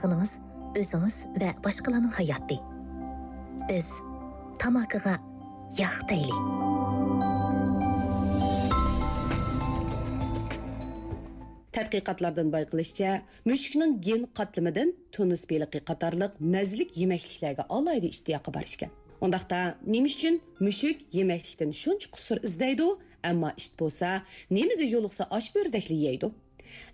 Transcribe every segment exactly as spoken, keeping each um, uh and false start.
يېقىنىڭىز، ئۆزىڭىز ۋە باشقىلارنىڭ ھاياتى. بىز تاماكىغا ياق دەيلى. تەتقىقاتلاردىن بايقىلىشىچە، مۈشۈكنىڭ گېن قاتلىمىدىن تۇنۇس بېلىقى قاتارلىق مەززىلىك يېمەكلىكلەرگە ئالاھىدە ئىشتىياقى بار ئىكەن. ئۇنداقتا، نېمە ئۈچۈن مۈشۈك يېمەكلىكتىن شۇنچە قۇسۇر ئىزدەيدۇ، ئەمما ئىت بولسا نېمىگە يولۇقسا ئاش بۆرىدەكلا يەيدۇ؟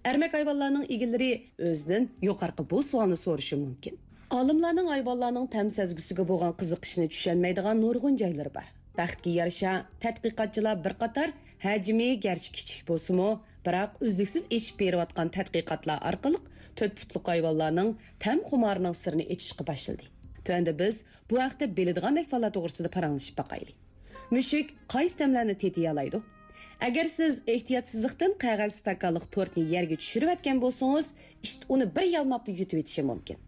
ئەرمەك ھايۋانلارنىڭ ئىگىلىرى ئۆزىدىن يۇقىرىقى بۇ سوئالنى سورىشى مۇمكىن. ئالىملارنىڭ ھايۋانلارنىڭ تەم سەزگۈسىگە بولغان قىزىقىشىنى چۈشەنمەيدىغان نۇرغۇن جايلىرى بار. بەختكە يارىشا، تەتقىقاتچىلار بىر قاتار ھەجمى گەرچە كىچىك بولسىمۇ، بىراق ئۈزلۈكسىز ئېشىپ بېرىۋاتقان تەتقىقاتلار ئارقىلىق تۆت پۇتلۇق ھايۋانلارنىڭ تەم خۇمارىنىڭ سىرىنى ئېچىشقا باشلىدى. تۆۋەندە بىز بۇ ھەقتە بىلىدىغان ئەھۋاللار توغرىسىدا پاراڭلىشىپ باقايلى. مۈشۈك قايسى تەملەرنى تېتىيالايدۇ؟ ئەگەر سىز ئېھتىياتسىزلىقتىن قەغەز ئىستاكانلىق تورتنى يەرگە چۈشۈرۈۋەتكەن بولسىڭىز، ئىت ئۇنى بىر يالماپلا يۇتۇۋېتىشى مۇمكىن.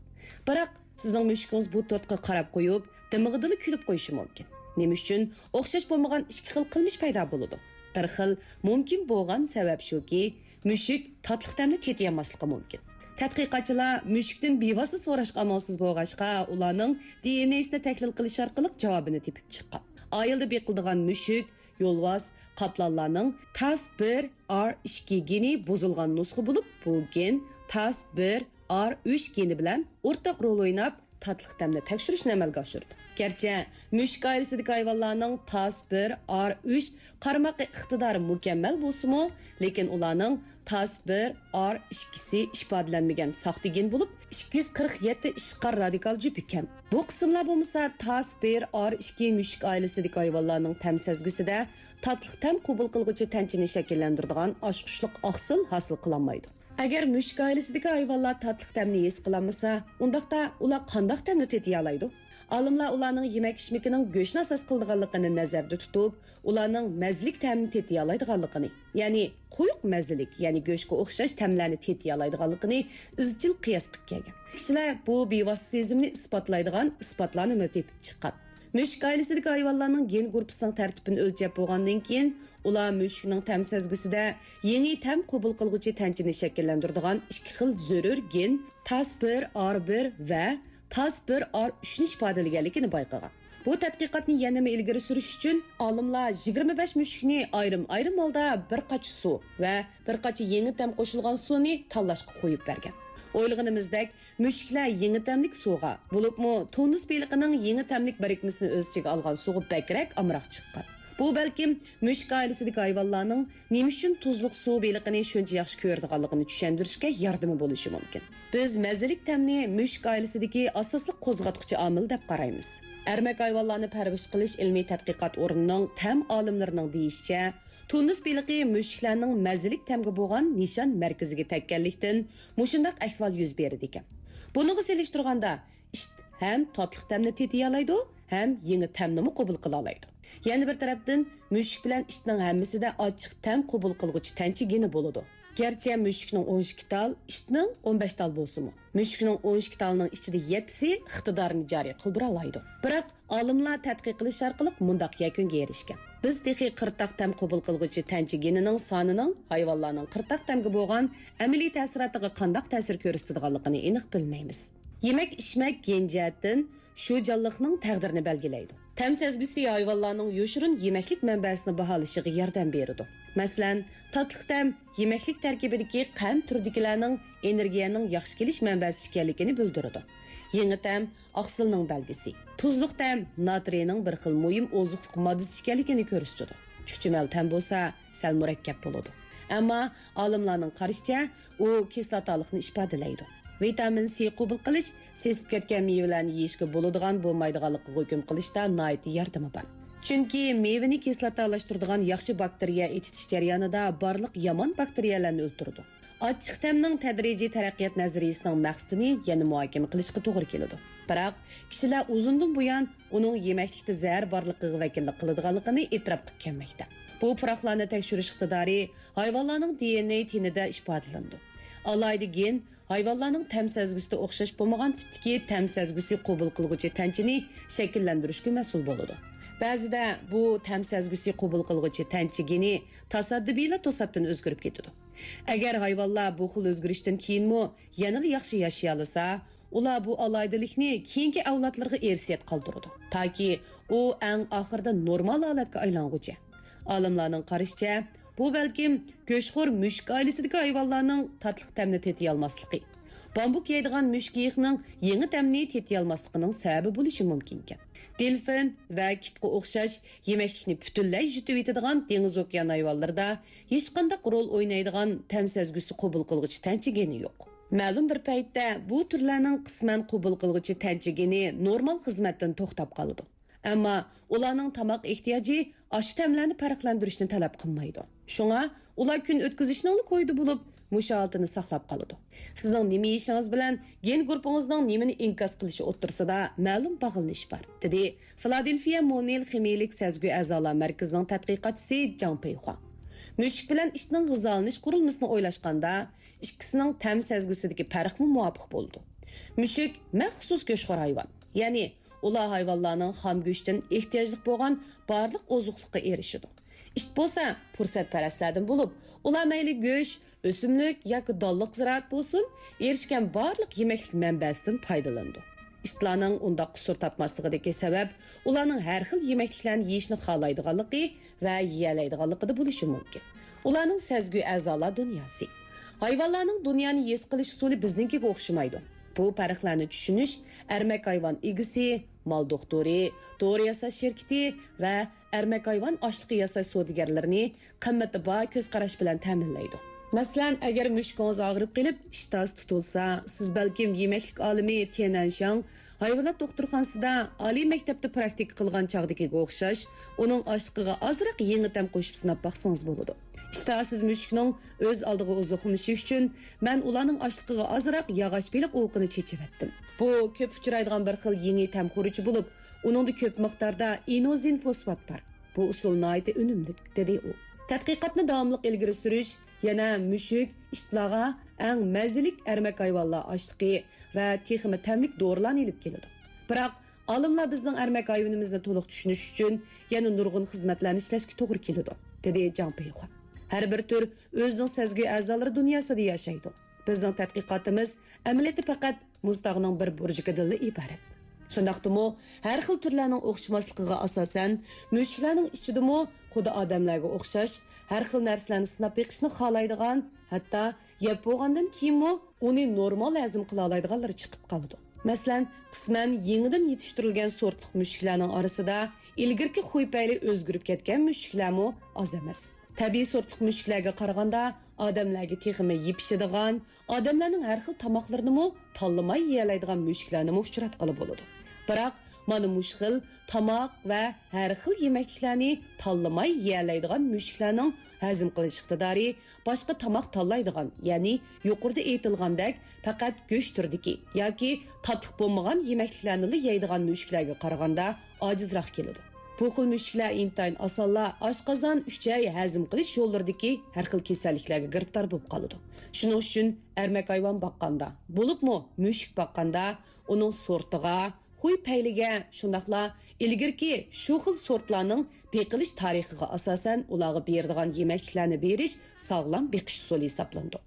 بىراق، سىزنىڭ مۈشۈكىڭىز بۇ تورتقا قاراپ قويۇپ، دىمىقىدىلا كۈلۈپ قويۇشى مۇمكىن. نېمە ئۈچۈن؟ ئوخشاش بولمىغان ئىككى خىل قىلمىش پەيدا بولىدۇ. بىر خىل مۇمكىن بولغان سەۋەب شۇكى، مۈشۈك تاتلىق تەمنى تېتىيالماسلىقى مۇمكىن. تەتقىقاتچىلار مۈشۈكتىن بىۋاسىتە سوراشقا ئامالسىز بولغاچقا، ئۇلارنىڭ دى ئېن ئېسىنى تەھلىل قىلىش ئارقىلىق جاۋابىنى تېپىپ چىققان. ئائىلىدە بېقىلىدىغان مۈشۈك، يولۋاس، قاپلانلارنىڭ تاس بىر ئار ئىككى گېنى بۇزۇلغان نۇسخا بولۇپ، بۇ گېن تاس بىر ئار ئۈچ گېنى بىلەن ئورتاق رول ئويناپ، تاتلىق تەمنى تەكشۈرۈشنى ئەمەلگە ئاشۇرىدۇ. گەرچە مۈشۈك ئائىلىسىدىكى ھايۋانلارنىڭ تاس بىر ئار ئۈچ قارىماق ئىقتىدارى مۇكەممەل بولسىمۇ، لېكىن ئۇلارنىڭ تاس بىر ئار ئىككىسى ئىپادىلەنمىگەن ساختا گېن بولۇپ، ئىككى يۈز قىرىق يەتتە ئىشقار رادىكال جۈپى كەم. بۇ قىسىملار بولمىسا، تاس بىر ئار ئىككى مۈشۈك ئائىلىسىدىكى ھايۋانلارنىڭ تەم سەزگۈسىدە تاتلىق تەم قوبۇل قىلغۇچى تەنچىنى شەكىللەندۈرىدىغان ئاچقۇچلۇق ئاقسىل ھاسىل قىلالمايدۇ. ئەگەر مۈشۈك ئائىلىسىدىكى ھايۋانلار تاتلىق تەمنى ھېس قىلالمىسا، ئۇنداقتا ئۇلار قانداق تەمنى تېتىيالايدۇ؟ ئالىملار ئۇلارنىڭ يېمەك-ئىچمىكىنىڭ گۆشنى ئاساس قىلىدىغانلىقىنى نەزەردە تۇتۇپ، ئۇلارنىڭ مەززىلىك تەمنى تېتىيالايدىغانلىقىنى، يەنى قويۇق مەززىلىك، يەنى گۆشكە ئوخشاش تەملەرنى تېتىيالايدىغانلىقىنى ئىزچىل قىياس قىلىپ كەلگەن. كىشىلەر بۇ بىۋاسىتە سېزىمنى ئىسپاتلايدىغان ئىسپاتلارنىمۇ تېپىپ چىققان. مۈشۈك ئائىلىسىدىكى ھايۋانلارنىڭ گېن گۇرۇپپىسىنىڭ تەرتىپىنى ئۆلچەپ بولغاندىن كېيىن، ئۇلار مۈشۈكنىڭ تەم سەزگۈسىدە يېڭى تەم قوبۇل قىلغۇچى تەنچىنى شەكىللەندۈرىدىغان ئىككى خىل زۆرۈر گېن، تاس بىر ئار بىر ۋە تاس بىر ئار ئۈچنى ئىپادىلىگەنلىكىنى بايقىغان. بۇ تەتقىقاتنى يەنىمۇ ئىلگىرى سۈرۈش ئۈچۈن، ئالىملار يىگىرمە بەش مۈشۈكنى ئايرىم-ئايرىم ھالدا بىر قاچا سۇ ۋە بىر قاچا يېڭى تەم قوشۇلغان سۇنى تاللاشقا قويۇپ بەرگەن. ئويلىغىنىمىزدەك، مۈشۈكلەر يېڭى تەملىك سۇغا، بولۇپمۇ تۇنۇس بېلىقىنىڭ يېڭى تەملىك بىرىكمىسىنى ئۆز ئىچىگە ئالغان سۇغا بەكرەك ئامراق چىققان. بۇ بەلكىم مۈشۈك ئائىلىسىدىكى ھايۋانلارنىڭ نېمە ئۈچۈن تۇزلۇق سۇ بېلىقىنى شۇنچە ياخشى كۆرىدىغانلىقىنى چۈشەندۈرۈشكە ياردىمى بولۇشى مۇمكىن. بىز مەززىلىك تەمنى مۈشۈك ئائىلىسىدىكى ئاساسلىق قوزغاتقۇچى ئامىل دەپ قارايمىز. ئەرمەك ھايۋانلارنى پەرۋىش قىلىش ئىلمىي تەتقىقات ئورنىنىڭ تەم ئالىملىرىنىڭ دېيىشىچە، تۇنۇس بېلىقى مۈشۈكلەرنىڭ مەززىلىك تەمگە بولغان نىشان مەركىزىگە تەگكەنلىكتىن، مۇشۇنداق ئەھۋال يۈز بېرىدىكەن. بۇنىڭغا سېلىشتۇرغاندا، ئىت ھەم تاتلىق تەمنى تېتىيالايدۇ، ھەم يېڭى تەمنىمۇ قوبۇل قىلالايدۇ. يەنە بىر تەرەپتىن، مۈشۈك بىلەن ئىتنىڭ ھەممىسىدە ئاچچىق تەم قوبۇل قىلغۇچى تەنچە گېنى بولىدۇ. گەرچە مۈشۈكنىڭ ئون ئىككى تال، ئىتنىڭ ئون بەش تال بولسىمۇ، مۈشۈكنىڭ ئون ئىككى تالىنىڭ ئىچىدە يەتتىسى ئىقتىدارىنى جارى قىلدۇرالايدۇ. بىراق، ئالىملار تەتقىق قىلىش ئارقىلىق مۇنداق يەكۈنگە ئېرىشكەن: بىز تېخى قىرتاق تەم قوبۇل قىلغۇچى تەنچە گېنىنىڭ سانىنىڭ ھايۋانلارنىڭ قىرتاق تەمگە بولغان ئەمەلىي تەسىراتىغا قانداق تەسىر كۆرسىتىدىغانلىقىنى ئېنىق بىلمەيمىز. يېمەك-ئىچمەك گېن جەھەتتىن شۇ جانلىقنىڭ تەقدىرىنى بەلگىلەيدۇ. تەم سەزگۈسى ھايۋانلارنىڭ يوشۇرۇن يېمەكلىك مەنبەسىنى باھالىشىغا ياردەم بېرىدۇ. مەسىلەن، تاتلىق تەم يېمەكلىك تەركىبىدىكى قەنت تۈرىدىكىلەرنىڭ ئېنېرگىيەنىڭ ياخشى كېلىش مەنبەسى ئىكەنلىكىنى بىلدۈرىدۇ. يېڭى تەم ئاقسىلنىڭ بەلگىسى. تۇزلۇق تەم ناترىينىڭ بىر خىل مۇھىم ئوزۇقلۇق ماددىسى ئىكەنلىكىنى كۆرسىتىدۇ. چۈچۈمەل تەم بولسا سەل مۇرەككەپ بولىدۇ. ئەمما ئالىملارنىڭ قارىشىچە، ئۇ كىسلاتالىقنى ئىپادىلەيدۇ. ۋىتامىن سى قوبۇل قىلىش، سېسىپ كەتكەن مېۋىلەرنى يېيىشكە بولىدىغان بولمايدىغانلىقىغا ھۆكۈم قىلىشتا ناھايىتى ياردىمى بار. چۈنكى مېۋىنى كىسلاتالاشتۇرىدىغان ياخشى باكتېرىيە ئېچىتىش جەريانىدا بارلىق يامان باكتېرىيەلەرنى ئۆلتۈرىدۇ. ئاچچىق تەمنىڭ تەدرىجىي تەرەققىيات نەزەرىيىسىنىڭ مەقسىتىنى يەنە مۇھاكىمە قىلىشقا توغرا كېلىدۇ. بىراق، كىشىلەر ئۇزۇندىن بۇيان ئۇنىڭ يېمەكلىكتە زەھەر بارلىقىغا ۋەكىللىك قىلىدىغانلىقىنى ئېتىراپ قىلىپ كەلمەكتە. بۇ پۇراقلارنى تەكشۈرۈش ئىقتىدارى ھايۋانلارنىڭ دى ئېن ئېي تېنىدە ئىپادىلىنىدۇ. ئالاھىدە گېن ھايۋانلارنىڭ تەم سەزگۈسىدە ئوخشاش بولمىغان تىپتىكى تەم سەزگۈسى قوبۇل قىلغۇچى تەنچىنى شەكىللەندۈرۈشكە مەسئۇل بولىدۇ. بەزىدە بۇ تەم سەزگۈسى قوبۇل قىلغۇچى تەنچە گېنى تاسادىپىيلا توساتتىن ئۆزگىرىپ كېتىدۇ. ئەگەر ھايۋانلار بۇ خىل ئۆزگىرىشتىن كېيىنمۇ يەنىلا ياخشى ياشىيالىسا، ئۇلار بۇ ئالاھىدىلىكنى كېيىنكى ئەۋلادلىرىغا ئىرسىيەت قالدۇرىدۇ، تاكى ئۇ ئەڭ ئاخىرىدا نورمال ھالەتكە ئايلانغۇچە. ئالىملارنىڭ قارىشىچە، بۇ بەلكىم گۆشخور مۈشۈك ئائىلىسىدىكى ھايۋانلارنىڭ تاتلىق تەمنى تېتىيالماسلىقى، بامبۇك يەيدىغان مۈشۈك ئېيىقنىڭ يېڭى تەمنى تېتىيالماسلىقىنىڭ سەۋەبى بولۇشى مۇمكىنكەن. دېلفىن ۋە كىتقا ئوخشاش يېمەكلىكنى پۈتۈنلەي يۇتۇۋېتىدىغان دېڭىز ئوكيان ھايۋانلىرىدا ھېچقانداق رول ئوينايدىغان تەم سەزگۈسى قوبۇل قىلغۇچى تەنچە گېنى يوق. مەلۇم بىر پەيتتە بۇ تۈرلەرنىڭ قىسمەن قوبۇل قىلغۇچى تەنچە گېنى نورمال خىزمەتتىن توختاپ قالىدۇ. ئەمما ئۇلارنىڭ تاماق ئېھتىياجى ئاشۇ تەملەرنى پەرقلەندۈرۈشنى تەلەپ قىلمايدۇ. شۇڭا ئۇلار كۈن ئۆتكۈزۈشنىڭلا كويىدا بولۇپ، مۇشۇ ھالىتىنى ساقلاپ قالىدۇ. سىزنىڭ نېمە يېيىشىڭىز بىلەن گېن گۇرۇپپىڭىزنىڭ نېمىنى ئىنكاس قىلىشى ئوتتۇرىسىدا مەلۇم باغلىنىش بار، دېدى فىلادېلفىيە مونېل خىمىيىلىك سەزگۈ ئەزالار مەركىزىنىڭ تەتقىقاتچىسى جاڭ پېيخۇا. مۈشۈك بىلەن ئىتنىڭ غىزالىنىش قۇرۇلمىسىنى ئويلاشقاندا، ئىككىسىنىڭ تەم سەزگۈسىدىكى پەرقمۇ مۇۋاپىق بولىدۇ. مۈشۈك مەخسۇس گۆشخور ھايۋان، يەنى ئۇلار ھايۋانلارنىڭ خام گۆشتىن ئېھتىياجلىق بولغان بارلىق ئوزۇقلۇققا ئېرىشىدۇ. ئىت بولسا پۇرسەتپەرەسلەردىن بولۇپ، ئۇلار مەيلى گۆش، ئۆسۈملۈك ياكى دانلىق زىرائەت بولسۇن، ئېرىشكەن بارلىق يېمەكلىك مەنبەسىدىن پايدىلىنىدۇ. ئىتلارنىڭ ئۇنداق قۇسۇر تاپماسلىقىدىكى سەۋەب ئۇلارنىڭ ھەر خىل يېمەكلىكلەرنى يېيىشنى خالايدىغانلىقى ۋە يېيەلەيدىغانلىقىدا بولۇشى مۇمكىن. ئۇلارنىڭ سەزگۈ ئەزالار دۇنياسى. ھايۋانلارنىڭ دۇنيانى ھېس قىلىش ئۇسۇلى بىزنىڭكىگە ئوخشىمايدۇ. بۇ پەرقلەرنى چۈشىنىش ئەرمەك ھايۋان ئىگىسى، مال دوختۇرى، دورا ياساش شىركىتى ۋە ئەرمەك ھايۋان ئاشلىقى ياساش سودىگەرلىرىنى قىممىتى بار كۆز قاراش بىلەن تەمىنلەيدۇ. مەسىلەن، ئەگەر مۈشۈكىڭىز ئاغرىپ قېلىپ، ئىشتىھاسى تۇتۇلسا، سىز بەلكىم يېمەكلىك ئالىمى تيەنئەنشياڭ ھايۋانات دوختۇرخانىسىدا ئالىي مەكتەپتە پراكتىكا قىلغان چاغدىكىگە ئوخشاش، ئۇنىڭ ئاشلىقىغا ئازراق يېڭى تەم قوشۇپ سىناپ باقسىڭىز بولىدۇ. ئىشتىھاسىز مۈشۈكنىڭ ئۆز ئالدىغا ئوزۇقلىنىشى ئۈچۈن، مەن ئۇلارنىڭ ئاشلىقىغا ئازراق ياغاچ بېلىق ئوۋىقىنى چېچىۋەتتىم. بۇ كۆپ ئۇچرايدىغان بىر خىل يېڭى تەم خۇرۇچى بولۇپ، ئۇنىڭدا كۆپ مىقداردا ئىنوزىن فوسفات بار. بۇ ئۇسۇل ناھايىتى ئۈنۈملۈك، دېدى ئۇ. تەتقىقاتنى داۋاملىق ئىلگىرى سۈرۈش يەنە مۈشۈك، ئىتلارغا ئەڭ مەززىلىك ئەرمەك ھايۋانلار ئاشلىقى ۋە تېخىمۇ تەملىك دورىلارنى ئېلىپ كېلىدۇ. بىراق، ئالىملار بىزنىڭ ئەرمەك ھايۋىنىمىزنى تولۇق چۈشىنىش ئۈچۈن يەنە نۇرغۇن خىزمەتلەرنى ئىشلەشكە توغرا كېلىدۇ، دېدى جاڭ پېيخۇا. ھەر بىر تۈر ئۆزىنىڭ سەزگۈ ئەزالىرى دۇنياسىدا ياشايدۇ. بىزنىڭ تەتقىقاتىمىز ئەمەلىيەتتە پەقەت مۇز تاغنىڭ بىر بۇرجىكىدىنلا ئىبارەت. شۇنداقتىمۇ، ھەر خىل تۈرلەرنىڭ ئوخشىماسلىقىغا ئاساسەن، مۈشۈكلەرنىڭ ئىچىدىمۇ خۇددى ئادەملەرگە ئوخشاش ھەر خىل نەرسىلەرنى سىناپ بېقىشنى خالايدىغان، ھەتتا يەپ بولغاندىن كېيىنمۇ ئۇنى نورمال ھەزىم قىلالايدىغانلىرى چىقىپ قالىدۇ. مەسىلەن، قىسمەن يېڭىدىن يېتىشتۈرۈلگەن سورتلۇق مۈشۈكلەرنىڭ ئارىسىدا ئىلگىرىكى خۇي پەيلى ئۆزگىرىپ كەتكەن مۈشۈكلەرمۇ ئاز ئەمەس. تەبىئىي سورتلۇق مۈشۈكلەرگە قارىغاندا، ئادەملەرگە تېخىمۇ يېپىشىدىغان، ئادەملەرنىڭ ھەر خىل تاماقلىرىنىمۇ تاللىماي يېيەلەيدىغان مۈشۈكلەرنىمۇ ئۇچراتقىلى بولىدۇ. بىراق، مانا مۇشۇ خىل تاماق ۋە ھەر خىل يېمەكلىكلەرنى تاللىماي يېيەلەيدىغان مۈشۈكلەرنىڭ ھەزىم قىلىش ئىقتىدارى باشقا تاماق تاللايدىغان، يەنى يۇقىرىدا ئېيتىلغاندەك پەقەت گۆش تۈرىدىكى ياكى تاتلىق بولمىغان يېمەكلىكلەرنىلا يەيدىغان مۈشۈكلەرگە قارىغاندا ئاجىزراق كېلىدۇ. بۇ خىل مۈشۈكلەر ئىنتايىن ئاسانلا ئاشقازان، ئۈچەي، ھەزىم قىلىش يوللىرىدىكى ھەر خىل كېسەللىكلەرگە گىرىپتار بولۇپ قالىدۇ. شۇنىڭ ئۈچۈن ئەرمەك ھايۋان باققاندا، بولۇپمۇ مۈشۈك باققاندا، ئۇنىڭ سورتىغا، خۇي پەيلىگە، شۇنداقلا ئىلگىرىكى شۇ خىل سورتلارنىڭ بېقىلىش تارىخىغا ئاساسەن ئۇلارغا بېرىدىغان يېمەكلىكلەرنى بېرىش ساغلام بېقىش ئۇسۇلى ھېسابلىنىدۇ.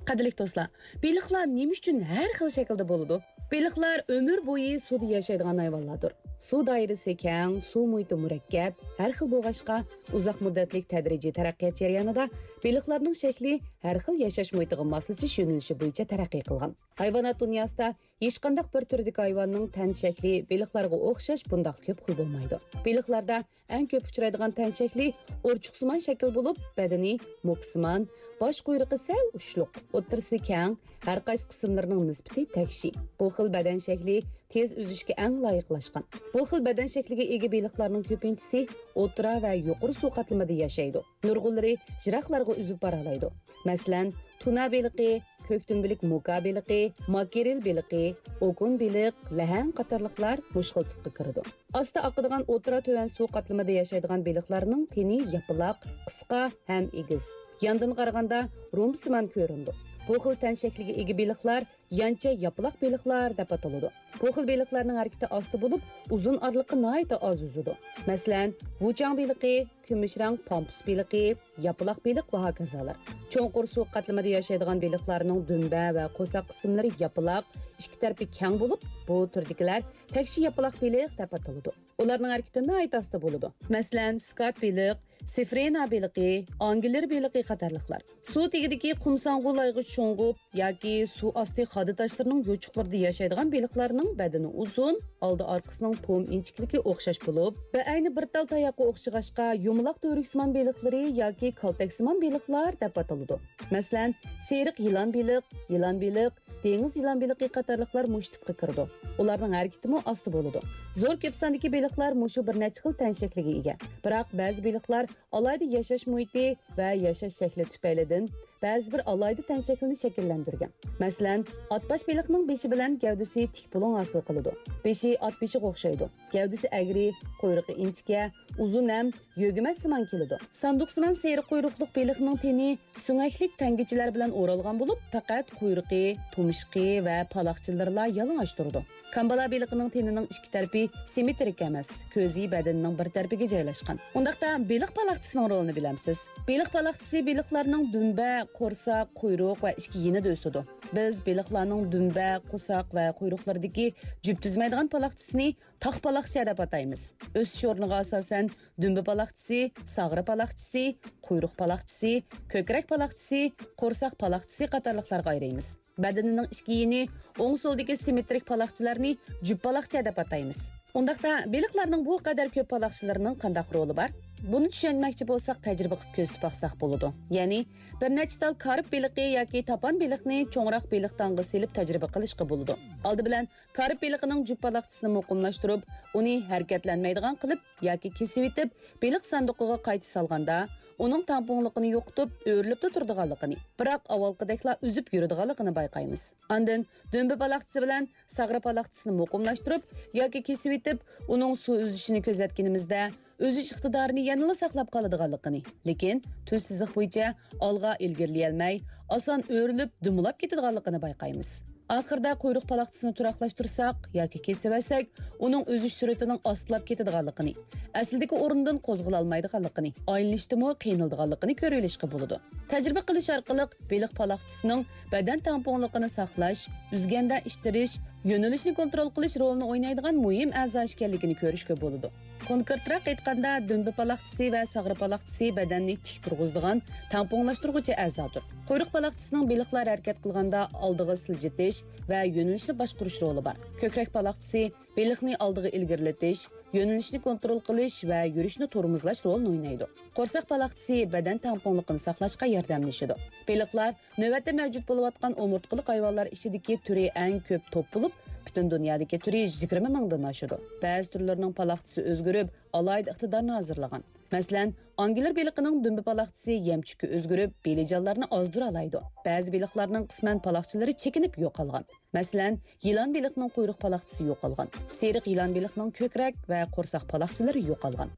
قەدىرلىك دوستلار، بېلىقلار نېمە ئۈچۈن ھەر خىل شەكىلدە بولىدۇ؟ بېلىقلار ئۆمۈر بويى سۇدا ياشايدىغان ھايۋانلاردۇر. سۇ دائىرىسى كەڭ، سۇ مۇھىتى مۇرەككەپ، ھەر خىل بولغاچقا، ئۇزاق مۇددەتلىك تەدرىجىي تەرەققىيات جەريانىدا بېلىقلارنىڭ شەكلى ھەر خىل ياشاش مۇھىتىغا ماسلىشىش يۆنىلىشى بويىچە تەرەققىي قىلغان. ھايۋانات دۇنياسىدا ھېچقانداق بىر تۈردىكى ھايۋاننىڭ تەن شەكلى بېلىقلارغا ئوخشاش بۇنداق كۆپ خىل بولمايدۇ. بېلىقلاردا ئەڭ كۆپ ئۇچرايدىغان تەن شەكلى ئورچۇقسىمان شەكىل بولۇپ، بەدىنى موكسىمان، باش قۇيرۇقى سەل ئۇچلۇق، ئوتتۇرىسى كەڭ، ھەر قايسى قىسىملىرىنىڭ نىسبىتى تەكشى. بۇ خىل بەدەن شەكلى تېز ئۈزۈشكە ئەڭ لايىقلاشقان. بۇ خىل بەدەن شەكلىگە ئىگە بېلىقلارنىڭ كۆپىنچىسى ئوتتۇرا ۋە يۇقىرى سۇ قاتلىمىدا ياشايدۇ. نۇرغۇنلىرى يىراقلارغا ئۈزۈپ بارالايدۇ. مەسىلەن، تۇنا بېلىقى، كۆكتۈمبىلىك موكا بېلىقى، ماكرېل بېلىقى، ئوكۇن بېلىق، لەھەڭ قاتارلىقلار مۇشۇ خىل تىپقا كىرىدۇ. ئاستا ئاقىدىغان ئوتتۇرا تۆۋەن سۇ قاتلىمىدا ياشايدىغان بېلىقلارنىڭ تېنى ياپىلاق، قىسقا ھەم ئېگىز. ياندىن قارىغاندا رومبسىمان كۆرۈنىدۇ. بۇ خىل تەن شەكلىگە ئىگە بېلىقلار يانچە ياپىلاق بېلىقلار دەپ ئاتىلىدۇ. بۇ خىل بېلىقلارنىڭ ھەرىكىتى ئاستا بولۇپ، ئۇزۇن ئارىلىققا ناھايىتى ئاز ئۈزىدۇ. مەسىلەن، ۋۇچاڭ بېلىقى، كۈمۈش رەڭ پامپۇس بېلىقى، ياپىلاق بېلىق ۋە ھاكازالار. چوڭقۇر سۇ قاتلىمىدا ياشايدىغان بېلىقلارنىڭ دۈمبە ۋە قورساق قىسىملىرى ياپىلاق، ئىككى تەرىپى كەڭ بولۇپ، بۇ تۈردىكىلەر تەكشى ياپىلاق بېلىق دەپ ئاتىلىدۇ. ئۇلارنىڭ ھەرىكىتى ناھايىتى ئاستا بولىدۇ. مەسىلەن، سكات بېلىق، سېفرېنا بېلىقى، ئانگلېر بېلىقى قاتارلىقلار. سۇ تېگىدىكى قۇمساڭغۇ لايغا شۇڭغۇپ ياكى سۇ ئاستى خادا تاشلىرىنىڭ يوچۇقلىرىدا ياشايدىغان بېلىقلارنىڭ بەدىنى ئۇزۇن، ئالدى ئارقىسىنىڭ توم ئىنچىكىلىكى ئوخشاش بولۇپ، بەئەينى بىر تال تاياققا ئوخشىغاچقا، يۇمىلاق تۈۋرۈكسىمان بېلىقلىرى ياكى كالتەكسىمان بېلىقلار دەپ ئاتىلىدۇ. مەسىلەن، سېرىق يىلان بېلىق، يىلان بېلىق، دېڭىز يىلان بېلىقى قاتارلىقلار مۇشۇ تىپقا كىرىدۇ. ئۇلارنىڭ ھەرىكىتىمۇ ئاستا بولىدۇ. زور كۆپ ساندىكى بېلىقلار مۇشۇ بىر نەچچە خىل تەن شەكلىگە ئىگە. بىراق بەزى بېلىقلار ئالاھىدە ياشاش مۇھىتى ۋە ياشاش شەكلى تۈپەيلىدىن بەزى بىر ئالاھىدە تەن شەكلىنى شەكىللەندۈرگەن. مەسىلەن، ئاتباش بېلىقنىڭ بېشى بىلەن گەۋدىسى تىك بۇلۇڭ ھاسىل قىلىدۇ. بېشى ئات بېشىغا ئوخشايدۇ. گەۋدىسى ئەگرى، قۇيرۇقى ئىنچىكە، ئۇزۇن ھەم يۆگىمەچسىمان كېلىدۇ. ساندۇقسىمان سېرىق قۇيرۇقلۇق بېلىقنىڭ تېنى سۆڭەكلىك تەڭگىچىلەر بىلەن ئورالغان بولۇپ، پەقەت قۇيرۇقى، تۇمشۇقى ۋە پالاقچىلىرىلا يالىڭاچ تۇرىدۇ. كامبالا بېلىقىنىڭ تېنىنىڭ ئىككى تەرىپى سىممېترىك ئەمەس، كۆزى بەدىنىنىڭ بىر تەرىپىگە جايلاشقان. ئۇنداقتا بېلىق پالاقچىسىنىڭ رولىنى بىلەمسىز؟ بېلىق پالاقچىسى بېلىقلارنىڭ دۈمبە، قورساق، قۇيرۇق ۋە ئىچكى يېنىدا ئۆسىدۇ. بىز بېلىقلارنىڭ دۈمبە، قورساق ۋە قۇيرۇقلىرىدىكى جۈپ تۈزمەيدىغان پالاقچىسىنى تاق پالاقچە دەپ ئاتايمىز. ئۆسۈش ئورنىغا ئاساسەن دۈمبە پالاقچىسى، ساغرا پالاقچىسى، قۇيرۇق پالاقچىسى، كۆكرەك پالاقچىسى، قورساق پالاقچىسى قاتارلىقلارغا ئايرىيمىز. بەدىنىنىڭ ئىچكى يېنى، ئوڭ سولدىكى سىممېترىك پالاقچىلارنى جۈپ پالاقچە دەپ ئاتايمىز. ئۇنداقتا بېلىقلارنىڭ بۇ قەدەر كۆپ پالاقچىلىرىنىڭ قانداق رولى بار؟ بۇنى چۈشەنمەكچى بولساق، تەجرىبە قىلىپ كۆزىتىپ باقساق بولىدۇ. يەنى بىر نەچچە تال كارپ بېلىقى ياكى تاپان بېلىقنى چوڭراق بېلىق تاڭغا سېلىپ تەجرىبە قىلىشقا بولىدۇ. ئالدى بىلەن كارپ بېلىقىنىڭ جۈپ پالاقچىسىنى مۇقىملاشتۇرۇپ، ئۇنى ھەرىكەتلەنمەيدىغان قىلىپ ياكى كېسىۋېتىپ، بېلىق ساندۇقىغا قايتا سالغاندا، ئۇنىڭ تامپونلۇقىنى يوقىتىپ، ئۆرۈلۈپلا تۇرىدىغانلىقىنى، بىراق ئاۋۋالقىدەكلا ئۈزۈپ يۈرىدىغانلىقىنى بايقايمىز. ئاندىن دۈمبە پالاقچىسى بىلەن ساغرا پالاقچىسىنى مۇقىملاشتۇرۇپ ياكى كېسىۋېتىپ، ئۇنىڭ سۇ ئۈزۈشىنى كۆزەتكىنىمىزدە، ئۈزۈش ئىقتىدارىنى يەنىلا ساقلاپ قالىدىغانلىقىنى، لېكىن تۈز سىزىق بويىچە ئالغا ئىلگىرىلىيەلمەي، ئاسان ئۆرۈلۈپ، دۈمىلاپ كېتىدىغانلىقىنى بايقايمىز. ئاخىرىدا قۇيرۇق پالاقچىسىنى تۇراقلاشتۇرساق ياكى كېسىۋەتسەك، ئۇنىڭ ئۈزۈش سۈرئىتىنىڭ ئاستىلاپ كېتىدىغانلىقىنى، ئەسلىدىكى ئورنىدىن قوزغىلالمايدىغانلىقىنى، ئايلىنىشتىمۇ قىينىلىدىغانلىقىنى كۆرۈۋېلىشقا بولىدۇ. تەجرىبە قىلىش ئارقىلىق بېلىق پالاقچىسىنىڭ بەدەن تەڭپۇڭلۇقىنى ساقلاش، ئۈزگەندە ئىتتىرىش، يۆنىلىشنى كونترول قىلىش رولىنى ئوينايدىغان مۇھىم ئەزا ئىكەنلىكىنى كۆرۈشكە بولىدۇ. كونكرېتراق ئېيتقاندا، دۈمبە پالاقچىسى ۋە ساغرا پالاقچىسى بەدەننى تىك تۇرغۇزىدىغان تەڭپۇڭلاشتۇرغۇچى ئەزادۇر. قۇيرۇق پالاقچىسىنىڭ بېلىقلار ھەرىكەت قىلغاندا ئالدىغا سىلجىتىش ۋە يۆنىلىشنى باشقۇرۇش رولى بار. كۆكرەك پالاقچىسى بېلىقنى ئالدىغا ئىلگىرىلىتىش، يۆنىلىشنى كونترول قىلىش ۋە يۈرۈشنى تورمۇزلاش رولىنى ئوينايدۇ. قورساق پالاقچىسى بەدەن تەڭپۇڭلۇقىنى ساقلاشقا ياردەملىشىدۇ. بېلىقلار نۆۋەتتە مەۋجۇت بولۇۋاتقان ئومۇرتقىلىق ھايۋانلار ئىچىدىكى تۈرى ئەڭ كۆپ توپ بولۇپ، پۈتۈن دۇنيادىكى تۈرى يىگىرمە مىڭدىن ئاشىدۇ. بەزى تۈرلىرىنىڭ پالاقچىسى ئۆزگىرىپ، ئالاھىدە ئىقتىدارنى ھازىرلىغان. مەسىلەن، ئانگلېر بېلىقىنىڭ دۈمبە پالاقچىسى يەمچۈككە ئۆزگىرىپ، بېلىجانلارنى ئازدۇرالايدۇ. بەزى بېلىقلارنىڭ قىسمەن پالاقچىلىرى چېكىنىپ يوقالغان. مەسىلەن، يىلان بېلىقنىڭ قۇيرۇق پالاقچىسى يوقالغان. سېرىق يىلان بېلىقنىڭ كۆكرەك ۋە قورساق پالاقچىلىرى يوقالغان.